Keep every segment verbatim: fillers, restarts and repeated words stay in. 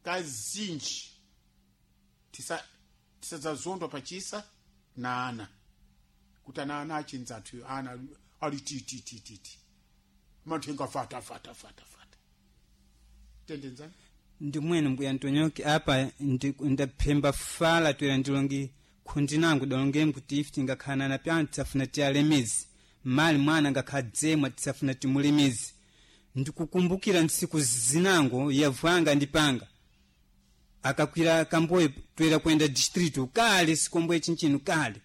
Kazinji tisa tisadzazondwa pachisa na ana kuti ana ana achinza athu ana ali tititititi mathenga fata fata fata fata tendenzani. Ndimwene mbuya Ntonyoki, apa ndi- ndaphemba fala toera ndilongi khundi nangu dalongeni kuti ife tingakhala na pyanu tisafuna tiyalemezi mali mwana ngakhadzemwa tisafuna timulemezi. Ndikukumbukira ntsiku zinango yavwanga ndipanga akakwira kamboyo toera kuenda distrito kale sikomboye chinchino kale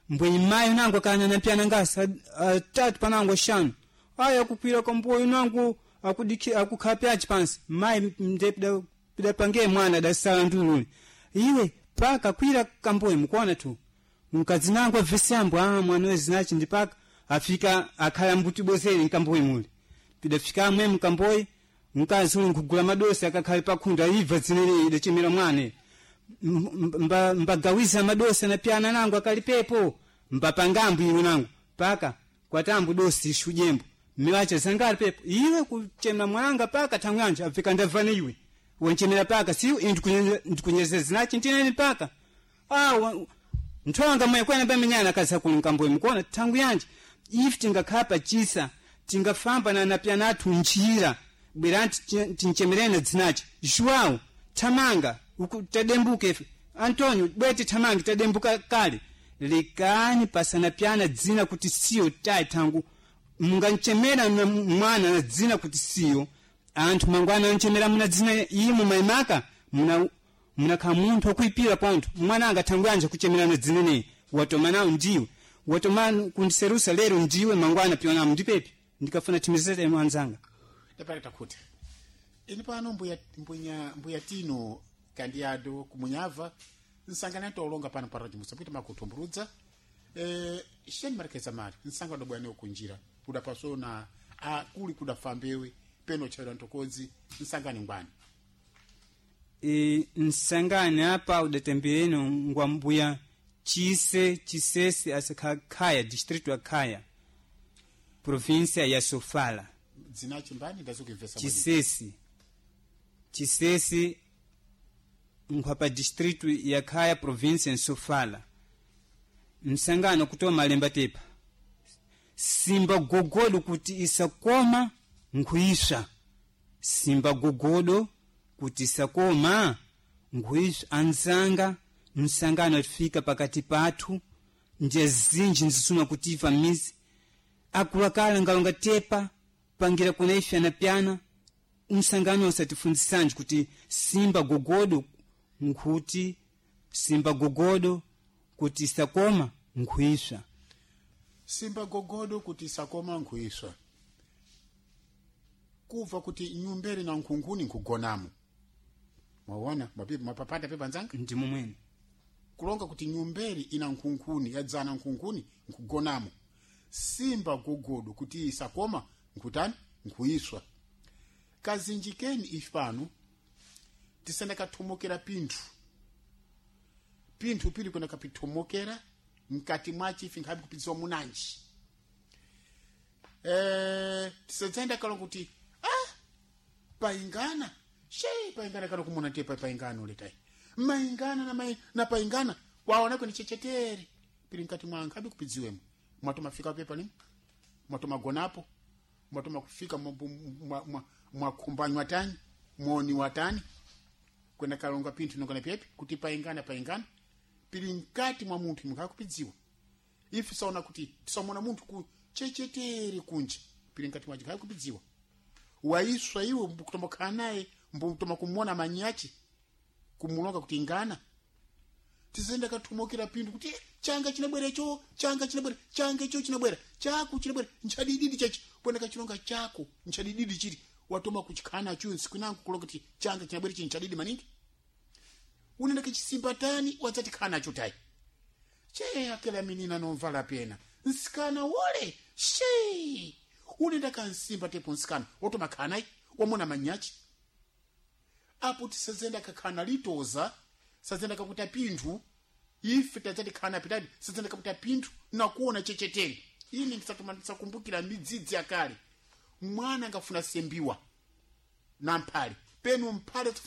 mbwenyi mayo nangu akana napyana ngasi atatu panango ashanu aya akukwira kamboyo nangu akudiki akukhala pyachi pansi mayi nde pida- pidapange mwana adasala ndululi iwe paka kwira kamboyo mukuona tu mkazi nangu avesi ambo ah mwana wezinachi ndipaka afika akhala mbuti bozere nkamboyi muli pidafika amwe mkamboyi mkazi uli nkugula madosi akakhale pakhunda ibva zinene idachemera mwane mba- mbagawiza madosi anapyana nangu akalipepo mbapangambu iwe nangu paka kwatambu dosi ishujembo miwacha zangali pepo iwe kuchemera mwananga paka thangu yanje afika ndavane iwe wanchemera paka siwe ndikunyeza zinachi ndinene paka ah wa- nthonga mwe kwena pamenyana kaza kulunkamboyi mukuona thangu yanje ife tingakhala pachisa tingafamba na napyana athu njira bwerani tinchemerene dzinachi. João thamanga uku tadembuka ife, Antonio bwete thamange tadembuka kale lekani pasanapyana dzina kuti siyo tayi thangu munganchemera na mwana na dzina kuti siyo anthu mangwana anchemera muna dzina imu maimaka muna munakhala munthu wakuipira pontho mwana anga thangu yanje kuchemera na dzina neyi watoma nawo ndiwe watoma kundiserusa lero ndiwe mangwana pyonamu ndipepi ndikafuna timizete mwanzanga. Ndapata takuti ini pano mbuya, mbuya, mbuya tino kandiado kumunyava nsangani atolonga pano para chimusapita makutumburudza eh sheni marekeza mari nsanga dobwani kunjira kudapasona a kuli kudafambewe peno chaira ntokodzi nsangani ngwani. E, nsangani apa udatembeleno ngwa mbuya Chise Chisese asakha distrito ya Khaya, província ya Sofala. Dzina chimbani ndazokimvesa mwadi. Chisesi Chisesi nkhwapa distrito ya Khaya, província ya Sofala. Msangano kutoa malemba tepa simba gogodo kuti isakoma nkhuiswa simba gogodo kuti isakoma nkhuiswa. Anzanga, msangano atifika pakati pathu nje zinji nzisuma kutiva mizi akulakala ngalonga tepa pangira kuna ife anapyana umsangano usatifunzisanji kuti simba gogodo nkhuti simba gogodo kuti isakoma nkhuiswa. Simba gogodo kuti isakoma nkhuiswa kubva kuti nyumberi na nkhunkhuni nkugonamo mwaona mapipa mapapata pepa nzanga. Ndimo mwene. Kulonga kuti nyumberi ina nkhunkhuni yadzana nkhunkhuni nkugonamo simba gogodo kuti isakoma nkutani nkuiswa. Kazinjikeni ife pano tisenda kathomokera pinthu pinthu pili kwenda kapithomokera mkati mwachi ife nkhabe kupidziwa munanji eh tisadzenda kalonga kuti ah paingana she paingana kana kumona te paingana uletai maingana na mai, na paingana waona kweni chechetere pili mkati mwa nkhabe kupidziwemo mwato mafika pepa ni mwato magonapo mwato makufika mwakumbanywa tani mwoni watani kwenda kalonga pinthu nongana pepi kuti paingana paingana pili mkati mwa munthu mukhakupidziwa ife saona kuti tisamona munthu ku chechetere kunja pili mkati mwaje khakupidziwa waiswa iwe mbukutomakhala naye mbutoma kumona manyachi kumulonga kuti ingana tizenda kathumokera pinthu kuti "Eh, changa chinabwera icho changa chinabwera changa icho chinabwera chako chinabwera nchadididi chachi pwena kachilonga chako nchadididi chiti watoma kuchikhana chu nsiku kulonga kuti changa chinabwera ichi nchadidi maningi unenda kachisimbatani wadzati khana tayi che akela minina nomvala pena nsikana wole she unenda kansimba tepo nsikana wotoma khanayi wamona manyachi apo tisazenda kakhana litoza sazenda kakuta pinthu ife tadzati khana pitati sazenda kakuta pinthu nakuona chechetere ine ndisatoma ndisakumbukira midzidzi yakale mwana angafuna sembiwa na mphale penu mphale